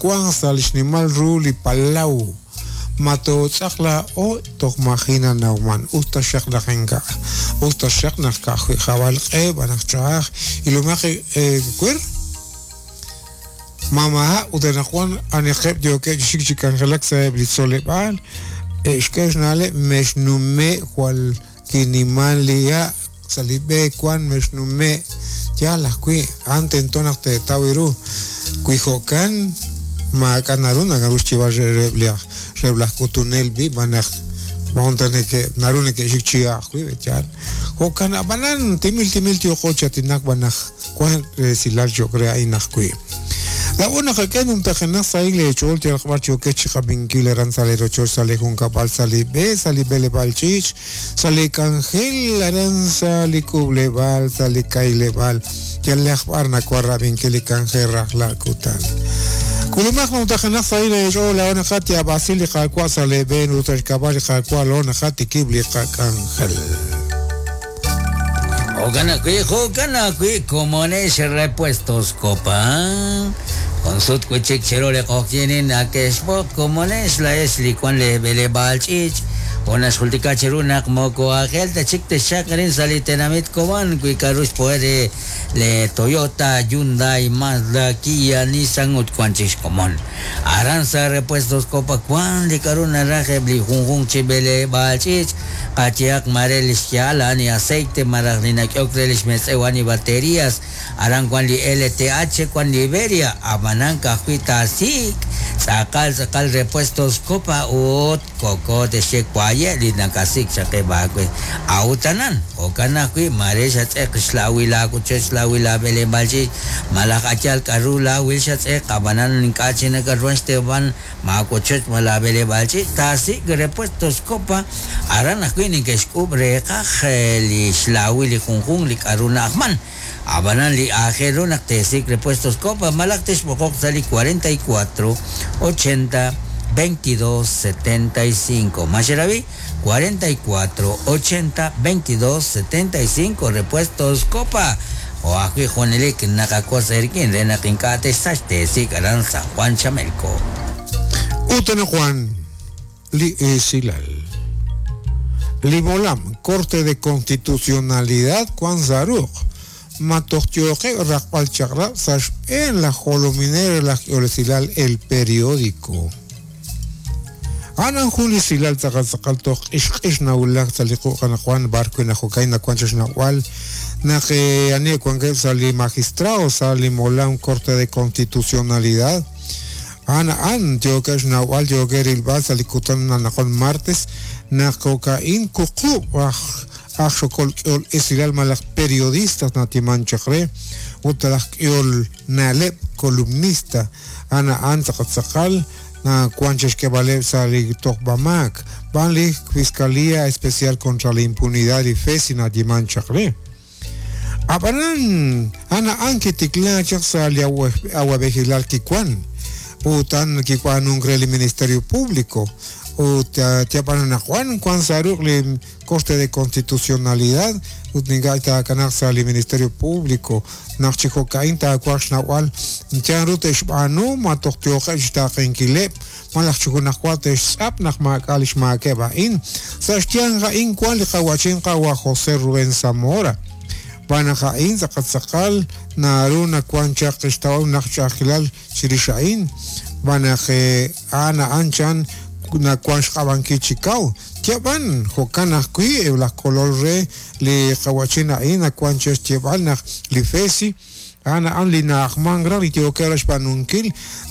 wank sa' li xnimal ru li palaw. Ma tootz'aq laa'o toj maji' nanawman, us taxaq naq ink'a', us taxaq naq ka'ajwi' jab'al q'e b'an naq ch'a'aj. Ilomaq ewer, ma maha' ut anaqwan aniqeb' yookeb' chi xik chi k'anjelak sa'eb' li tzoleb'aal, e'xk'e xna'leb' mexnume' jwal kiniman li ha' sa' li b'e wan mexnume'. Yaal ajwi', a'an tento naq teetaw ru. Wi jo'kan, maak'a' naru naru xyeeb'al reheb' li reheb' laj k'utunel b'i' b'an naq moqon ta neke' naru neke'xik chi ha' ajwi', yaal. Jo'kan ab'anan, timil timil yooqo chi aatinak b'an naq wan resilal cho'q re a'in ajwi'. Laa'o naqak'e numtajenaq sahil eech'ool yalaq b'ar yookex chiqab'inkil aran sa' lee rochoch, sa' lee junkab'al, sa' li b'e, sa' li b'eleb'aal ch'iich', sa' lee k'anjel, aran sa' li k'uub'leb'aal, sa' li k'ayleb'aal, yalaq b'ar nawan rab'inkil li k'anjel rajlal kutan. K'ulumaq numtajenaq sahil eech'ool, laa'o naqatyaab'asi li Qaawa' sa' lee b'een ut sa' xk'ab'a' li Qaawa' laa'o naqatikib' li qak'anjel. Jo'kan ajwi', jo'kan ajwi' komonex Repuestos Copa. Jun sut wi' chik chiru li q'oqyinin nake'xb'oq komonex laa'ex li wan lee b'eleb'aal ch'iich' jo' naxjultika cheru naq moko aajel ta chik texchaq arin sa' li tenamit Cobán wi k'a'ru xpo'e re le Toyota, Hyundai, Mazda, Kia, Nissan ut wan chik xkomon. Aran sa' Repuestos Copa wan li k'a'ru naraj eb' li junjunq chi b'eleb'aal ch'iich', Qayehaq maare li xya'al a'an li aceite malaj li nak'ehok re li xmetz'ew a'an li baterías. Aran wan li LTH, wan Liberia, ab'anan ka'ajwi' taasik' tz'aqal tz'aqal Repuestos Copa ut koko te'xye waye' li nakasik' chaq eb' aawe. A'ut anan, jo'kan ajwi' maare xatz'eq xlawil laawochoch, xlawil laab'eleb'aal ch'iich' malaj a' yaal k'a'ru laawil xatz'eq, ab'anan ink'a' chik nakatruhan xteeb'al Maawochoch ma laab'eleb'aal ch'iich' taasik' Repuestos Copa, aran ajwi' neke'xk'uub' reeqaj li xlaawil li junjunq li k'a'ru na'ajman. A'b'anan li aajel ru naq teesik' Repuestos Copa malaj texb'oqoq sa' li 44 80 22 75. Ma xerab'i? 44 80 22 75 Repuestos Copa. Jo' ajwi' junelik naqawotz eerik'in re naq ink'a' texsach teesik' aran San Juan Chamelco. Ut anaqwan li esilal. Li molam Corte de Constitucionalidad wank sa' ruq', ma toj yooqeb' raqb'al chaq'rab' sa' xb'een laj jolominel re laj k'ehol esilal El Periódico. A'an jun li esilal tz'aqal tz'aqal toj q'ixq'ix nawulak sa' li quq' anaqwan b'ar wi' najokay nawank chaq xnawb'al naq ani wankeb' sa' li magistrado sa' li molam Corte de Constitucionalidad. A'an a'an yookeb' xnawb'al yookeb' rilb'al sa' li kutan anaqwan martes naq jo'ka'in wuqub' aj aj xokol k'ehol esilal malaj periodistas natiman chaq re ut laj k'ehol na'leb' columnista a'an a'an tz'aqal tz'aqal nawan chixk'eeb'aleb' sa' li tojb'amaak b'an li Fiscalía Especial contra la Impunidad li FESI nayeeman chaq re. Ab'anan a'an a'an kitikla chaq sa' li awa'b'ejilal kiwan ut a'an kib'aanunk re li Ministerio Público ut yab'an anaqwan wan sa' ruq' li Corte de Constitucionalidad ut ink'a' taakanaaq sa' li Ministerio Público naq chi jo'ka'in taawaj xnawb'al chan ru te'xb'aanu ma toj yooqeb' xtaaqenkileb' malaj chi junajwa te'xtz'ap naq maak'a' li xmaakeb' a'in. Sa' xyanq a'in wan li qawa'chin qawa' José Rubén Zamora. Xb'aan naq a'in tz'aqal tz'aqal naru nawan chaq xtawom naq ch'a'ajkilal chirix a'in, xb'aan naq a'an a'an chan nawan xq'ab'ankil chi kaw. Yab'an, jo'kan ajwi' eb' laj kolol re li qawa'chin a'in nawan chaq xyeeb'al naq li FESI a'an a'an li na'ajmank raj li yookeb' raj xb'aanunkil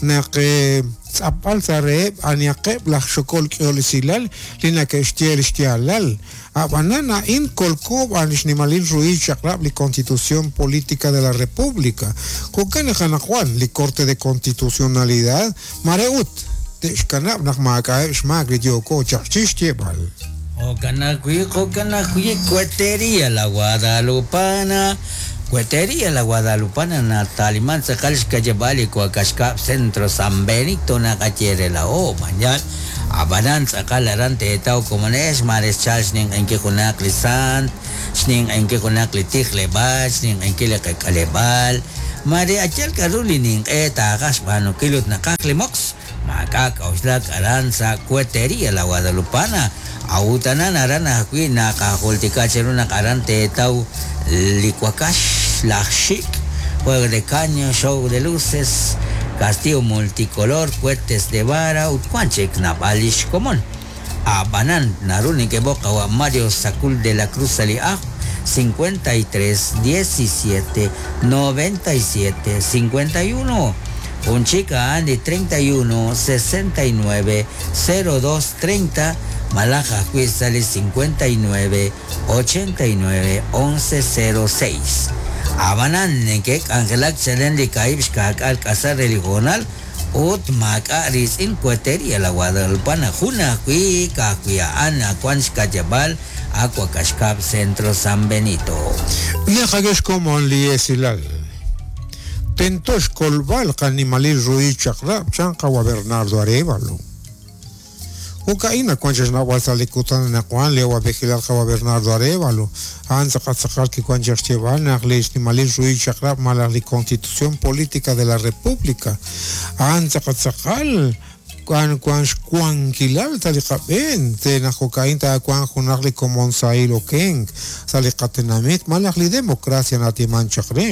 naq tz'apb'al sa' reheb' anihaqeb' laj xokol k'ehol esilal li nake'xye li xyaalal. A'b'anan a'in kolko b'an li xnimalil ruhil chaq'rab' li Constitución Política de la República. Jo'kan naq anaqwan li Corte de Constitucionalidad mare ut te'xkanab' naq maak'a'eb' xmaak li yooko chaq chi xyeeb'al. Jo'kan ajwi', jo'kan ajwi' Cuetería La Guadalupana, Cuetería La Guadalupana nataliman tz'aqal xka'yab'aal li wakax kab' Centro San Benito naqaye re laa'o, mañal, ab'anan tz'aqal aran teetaw komonex maare xchalk xninq'ehinkil junaq li sant, xninq'ehinkil junaq li tijleb'aal, xninq'ehinkil li qak'aleb'aal. Mare ayal k'aru li ninq'e taaqaj xb'aanunkil ut naqaj li moqs, maak'a' k'a'uxlak aran sa' Cuetería La Guadalupana. A'ut anan aran ajwi' naqajultika cheru naq aran teetaw li wakax, laj xik', juego de caño, show de luces, castillo multicolor, cohetes de vara ut wan chik naab'al li xkomon. A'b'anan, naru nekeb'oq qawa' Mario Sacul de la Cruz sa' li ajl 53 17 97 51. Jun chik a'an li 31 69 02 30 malaj ajwi' sa' li 59 89 11 06. A'b'anan, neke'k'anjelak chalen li kaahib' xkaak'al k'asal re li hoonal ut maak'a' riitz'in Cuetería La Guadalupana, jun ajwi' ka'ajwi' a'an wan xka'yab'aal Aguacaxcab Centro San Benito. Naqak'e xkomon li esilal. Tento xkolb'al qanimalil ruhil chaq'rab' chan qawa' Bernardo Arévalo. Jo'ka'in nawank chaq xnawb'al sa' li kutan anaqwan li awa'b'ejilal qawa' Bernardo Arévalo, a'an tz'aqal tz'aqal kiwank chaq xyeeb'al naq li xnimalil ruhil chaq'rab' malaj li Constitución Política de la República a'an tz'aqal tz'aqal wan wank xwankilal sa' li qab'een re naq jo'ka'in taawanq junaq li komon sahil okenk sa' li qatenamit malaj li democracia natiman chaq re.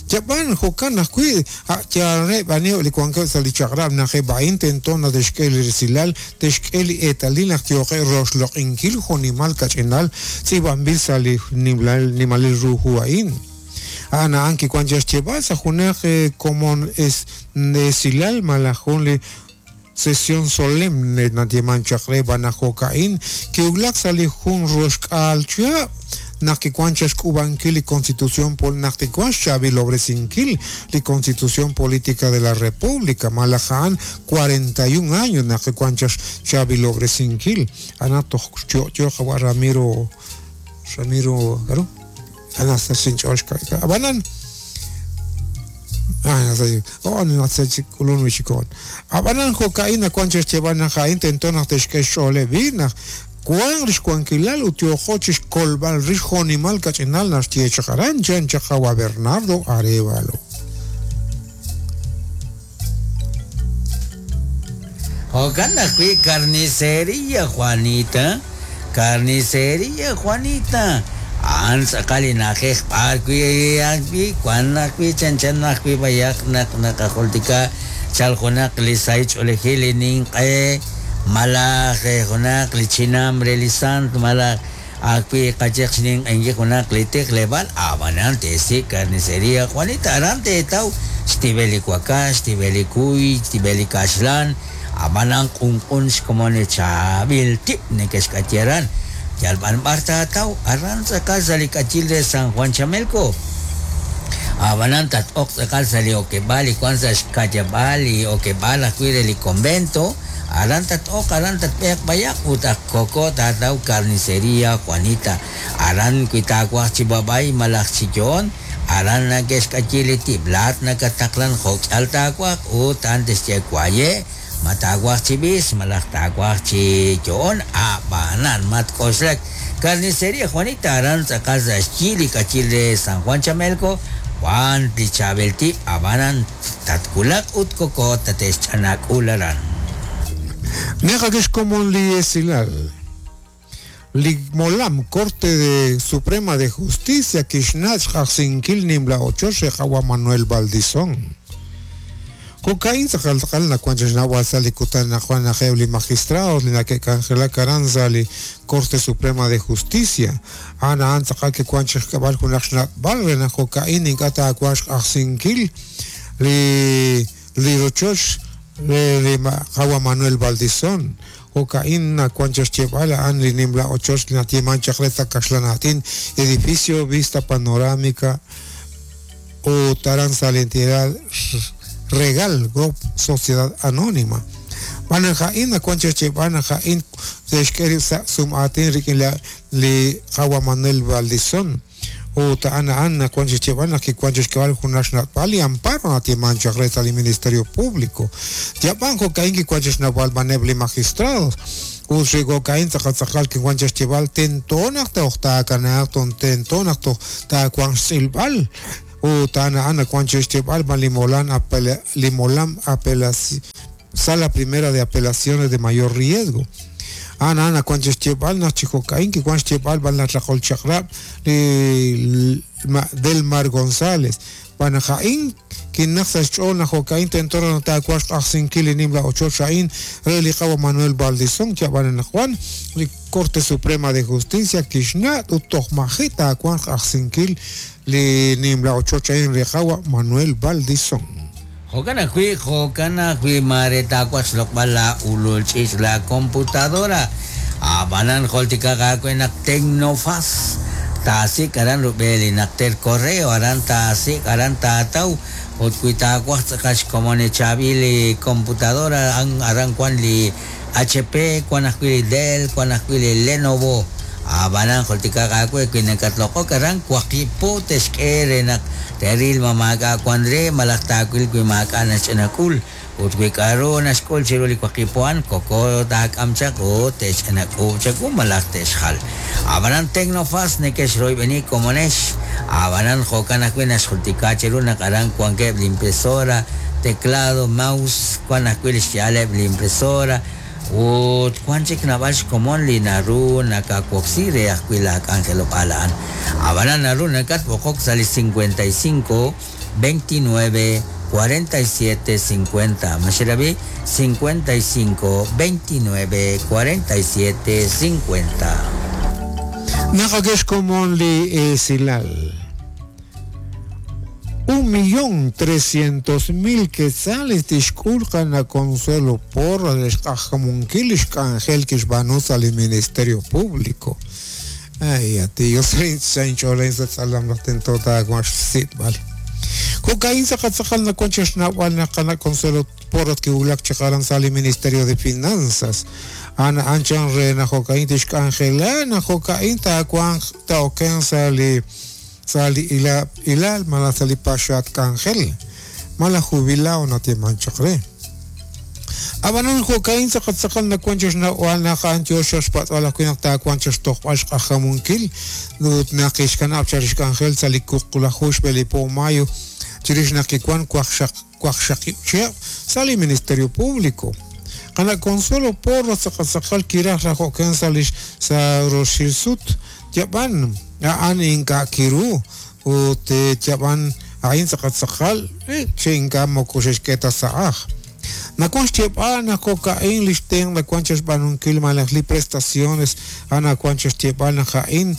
Yab'an, jo'kan ajwi', a' yaal reheb' aniheb' li wankeb' sa' li chaq'rab' naq eb' a'in tento naq te'xk'e li resilal, te'xk'e li eetalil naq yooqeb' roxloq'inkil jo'nimal kach'inal tz'iib'anb'il sa' li nimalil ru hu a'in. A'an a'an kiwank chaq xyeeb'al sa' junaq komon esilal malaj jun li sesión solemne nayeeman chaq re b'an naq jo'ka'in kiwulak sa' li jun roxk'aal chihab' naq kiwank chaq xk'uub'ankil li Constitución naq kiwank xchaab'ilob'resinkil li Constitución Política de la República malaj a'an 41 años naq kiwank chaq xchaab'ilob'resinkil a'an toj yo'yo qawa' Ramiro Ramiro k'aru a'an xinch'ool xka'ya ab'anan Ab'anan jo'ka'in nawank chaq xyeeb'al naq a'in tento naq te'xk'e xch'ooleb' b'i' naq wanq li xwankilal ut yooqo chi xkolb'al rix jo'nimal kach'inal naxye chaq aran, chan chaq qawa' Bernardo Arévalo. Jo'kan ajwi' Carnicería Juanita, Carnicería Juanita, a'an tz'aqal li na'ajej b'ar wi' ajwi' wan ajwi' chanchan ajwi' b'ayaq naq naqajultika chal junaq li sahil ch'oolejil li ninq'e malaj junaq li chinam re li sant malaj ajwi' qayeq xninq'ehinkil junaq li tijleb'aal, ab'anan teesik' Carnicería Juanita aran teetaw xtib'el li wakax, xtib'el li kuy, xtib'el li kaxlan, ab'anan q'unq'un xkomon li chaab'il tib' neke'xk'ayi aran. Yal b'an b'ar taataw, aran tz'aqal sa' li k'ayil re San Juan Chamelco. Ab'anan tat-oq tz'aqal sa' li okeb'aal li wank sa' xka'yab'aal li okeb'aal ajwi' re li convento, Aran tat-oq, aran tatb'eeq b'ayaq ut ak koko taataw Carnicería Juanita. Aran wi taawaj chi b'ab'ay malaj chi yo'on, aran nake'xk'ayi li tib'. Laa'at nakataqlan jo'k'ihal taawaj ut a'an tixye waye' ma taawaj chi b'is malaj taawaj chi yo'on. A'b'anan matk'oxlak. Carnicería Juanita aran tz'aqal sa' xyi li k'ayil re San Juan Chamelco wank li chaab'il tib' ab'anan Tatwulaq ut koko tate'xch'anak'ul aran. Naqak'e xkomon li esilal. Li molam Corte de Suprema de Justicia kixnat' xq'ajsinkil nimla ochoch re qawa' Manuel Baldizón. Jo'ka'in tz'aqal tz'aqal nawank chaq xnawb'al sa' li kutan anaqwan naq eb' li magistrados li nake'k'anjelak aran sa' li Corte Suprema de Justicia A'an a'an tz'aqal kiwank chi xk'eb'al junaq xnat'b'al re naq jo'ka'in ink'a' taawanq xq'ajsinkil li li rochoch re li qawa' Manuel Baldizón. Jo'ka'in nawank chaq xyeeb'al a'an li nimla ochoch li nayeemank chaq re sa' kaxlan aatin Edificio Vista Panorámica ut aran sa' li entidad Regal Group Sociedad Anónima. Xb'aan naq a'in nawank chaq xyeeb'al naq a'in te'xk'e rib' sa' sum'aatin rik'in li qawa' Manuel Baldizón ut a'an a'an nawank chi xyeeb'al naq kiwank chi xk'eb'al junaq xna'b'al li amparo nayeemank chaq re sa' li Ministerio Público. Yab'an jo'ka'in kiwank chi xnawb'al b'aneb' li magistrados ut xi jo'ka'in tz'aqal tz'aqal kiwank chi xyeeb'al tento naq toj taakanaaq tento naq toj taawanq xtz'ilb'al. Ut a'an a'an nawank chi xyeeb'al b'an li molam li molam Sala Primera de Apelaciones de Mayor Riesgo. A'an a'an nawank chi xyeeb'al naq chi jo'ka'in kiwank xyeeb'al b'an laj raqol chaq'rab' li Delmar González. Xb'aan naq a'in kinaq sa' xch'ool naq jo'ka'in tento raj naq taawanq xq'ajsinkil li nimla ochoch a'in re li qawa' Manuel Baldizón yab'an anaqwan li Corte Suprema de Justicia kixna' ut toj maji' taawanq xq'ajsinkil li nimla ochoch a'in re qawa' Manuel Baldizón. Jo'kan ajwi', jo'kan ajwi' maare taawaj xloq'b'al laa ulul ch'iich' laa computadora. A'b'anan jultikaq aawe naq Tecnofas taasik' aran rub'el li najter correo, aran taasik', aran taataw, ut wi taawaj tz'aqal xkomon li chaab'il li computadora, aran wan li HP, wan ajwi' li Dell, wan ajwi' li Lenovo. A'b'anan jultikaq aawe wi nakatloq'ok aran waqib' po te'xk'e re naq te'ril ma maak'a' wan re malaj taawil wi maak'a' naxch'ina k'ul. Ut wi k'a'ru naxk'ul chiru li waqib' po a'an, koko taak'am chaq ut te'xch'ina k'uub' chawu malaj te'xjal. A'b'anan Tecnofas neke'xroyb'eni komonex. A'b'anan jo'kan ajwi' naxjultika cheru naq aran wankeb' li impresora, teclado, mouse, wan ajwi' li xya'aleb' li impresora, ut wan chik naab'al xkomon li naru nakawoksi re ajwi' laa k'anjelob'aal a'an. A'b'anan naru nakatb'oqok sa' li 55 29 47 50. Ma xerab'i? 55 29 47 50. Naq ak xkomon li esilal. 1.300.000 quetzales tixk'ul qana' Consuelo Porras re xq'ajkamunkil li xk'anjel kixb'aanu sa' li Ministerio Público. Ay, a ti, yo sa' inch'ool a'in sa' tz'alam naq tento taawanq xsib'al. Jo'ka'in tz'aqal tz'aqal nawank chi xnawb'al naq qana' Consuelo Porras kiwulak chaq aran sa' li Ministerio de Finanzas. A'an a'an chan re naq jo'ka'in tixk'anjela naq jo'ka'in taawanq taa'okenq sa' li sa' li ilal malaj sa' li paxaat k'anjel, malaj jubilao nayeeman chaq re. Ab'anan jo'ka'in tz'aqal tz'aqal nawank chi xnawb'al naq a'an yoo chaq xpatz'b'al ajwi' naq taawanq chaq xtojb'al xq'ajkamunkil ut naq kixkanab' chaq li xk'anjel sa' li wuqlaju xb'e li po mayo chirix naq kiwank waqxaqib' chihab' sa' li Ministerio Público. Qana' Consuelo Porras tz'aqal tz'aqal kiraj raj okenk sa' li sa' roxil sut Yab'an a'an ink'a' kiru ut yab'an a'in tz'aqal tz'aqal chi ink'a' moko xe'xk'e ta sa' ajl. Nawank xyeeb'al naq jo'ka'in li xtenq' nawank chi xb'aanunkil malaj li prestaciones a'an nawank chi xyeeb'al naq a'in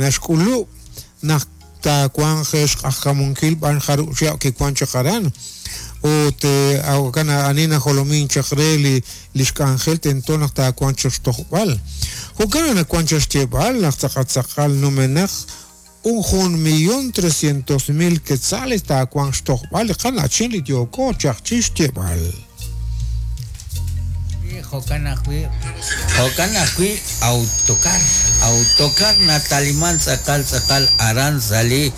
naxk'ulub' naq taawanq xq'ajkamunkil b'an jarub' chihab' kiwank chaq aran. Ut jo'kan ani najolomink chaq re li lix k'anjel tento naq taawanq chaq xtojb'al. Jo'kan naq nawank chaq xyeeb'al naq tz'aqal tz'aqal numenaq un 1.300.000 quetzales taawanq xtojb'al li qana'chin li yooko chaq chi xyeeb'al. Jo'kan ajwi', jo'kan ajwi' Autocar, Autocar nataliman tz'aqal tz'aqal aran sa' li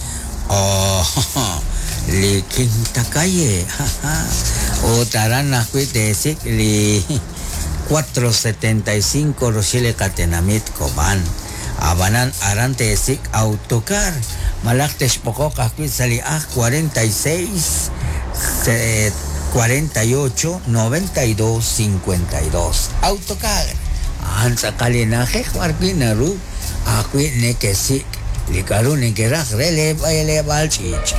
oh, li Quinta Calle, ut aran ajwi' teesik' li 475 roxil li qatenamit Cobán. Ab'anan aran teesik' Autocar malaj texb'oqoq ajwi' sa' li aj 46 48 92 52. Autocar a'an tz'aqal li na'ajej b'arwi' naru ajwi' nekesik' li k'a'ru nekeraj re lee b'eleb'aal ch'iich'.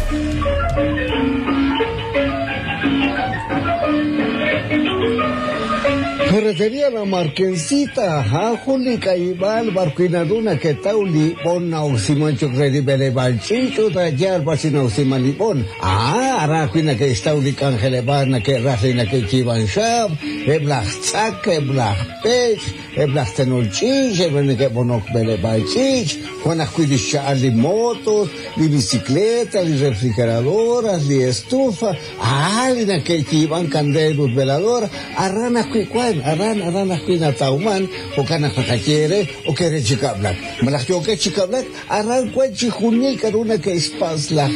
Ferretería La Marquesita, a'an jun li k'ayib'aal b'arwi' naru naketaw li b'on na'oksiman cho'q re li b'eleb'aal ch'iich' ut a' yaal b'ar chi na'oksiman li b'on. A'an aran ajwi' nake'xtaw li k'anjeleb'aal nake'raj li nake'yiib'an xaab', eb' laj tz'ak, eb' laj pech', Eb' laj tenol ch'iich', eb' li neke'b'onok b'eleb'aal ch'iich', wan ajwi' li xcha'al li motos, li bicicleta, li refrigeradoras, li estufa, a'an li neke'yiib'ank kandeel ut veladora, aran ajwi' wan, aran, aran ajwi' natawman, jo'kan naq naqaye eere, ok eere chi kab'lak, malaj yookex chi kab'lak, aran wan chixjunil k'a'ru neke'xpatz' laj.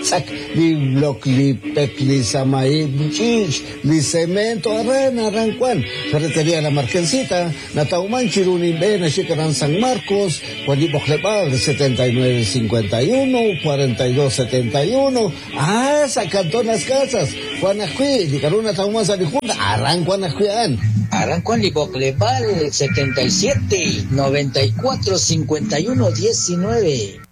tz'ak, li blok, li pek, li samahib', li ch'iich', li cemento, aran aran wan. Ferretería La Marquensita, natawman chiru nimb'e naxik aran San Marcos, wan li b'oqleb'aal 79 51 42 71, ah, sa' Cantón Las Casas, wan ajwi' li k'a'ru natawman sa' li jun, aran wan ajwi' a'an. Aran wan li b'oqleb'aal 77 94 51 19.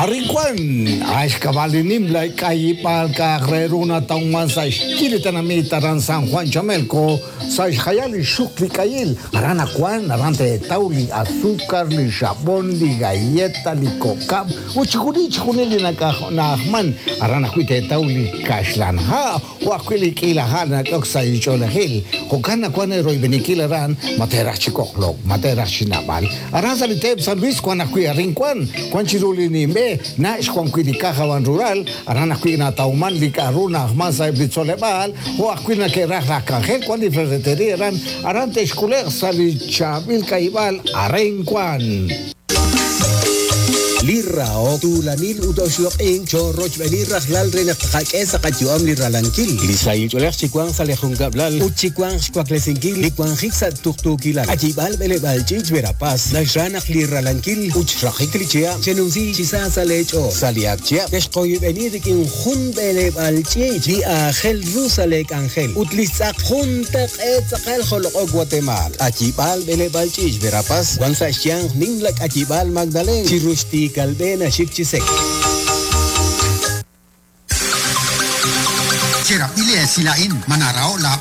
Arin wan, axkab'al li nimla k'ayib'aal ka'aj re ru natawman sa' xyi li tenamit aran San Juan Chamelco, sa' xjayal li xuk li k'ayil. Aran akuan, aran teetaw li azúcar, li xab'on, li galleta, li kokab', ut chixjunil chixjunil li na'ajman. Aran ajwi' teetaw li kaxlan ha', o ajwi' li k'iila ha' nak'ok sa' li ch'oolejil. Jo'kan nawan royb'enikil aran, ma teeraj chi koqlok, ma teeraj chi nab'al. Aran sa' li teep San Luis wan ajwi' arin wan, wan chiru li nimb'e, na' xwan wi' li Caja Ban Rural, aran ajwi' natawman li k'a'ru na'ajman sa' eb' li tzoleb'aal, jo' ajwi' nake'raj laj k'anjel wan li ferretería aran, aran te'xk'ule'q sa' li chaab'il k'ayib'aal arin wan. Li rahok, tuulanil ut oxloq'ink cho'rochb'eni rajlal re naq tqak'e sa' qayu'am li ralankil. Li sahil ch'oolej chiwanq sa' li junkab'lal ut chiwanq xwaklesinkil li wanjik sa' tuqtuukilal. K'ayib'aal b'eleb'aal ch'iich' Verapaz naxra naq li ralankil ut xraqik li chihab' chenumsi chi sa sa' lee ch'ool. Sa' li ak chihab' texqoyb'eni rik'in jun b'eleb'aal ch'iich' li aajel ru sa' lee k'anjel ut li xtz'aq juntaq'eet tz'aqal joloq'ok Guatemala. K'ayib'aal b'eleb'aal ch'iich' Verapaz wan sa' xyanq nimla k'ayib'aal Magdalena chi ruxti kalb'e naxik chi sek. Cherab'ili esila'in manarao la.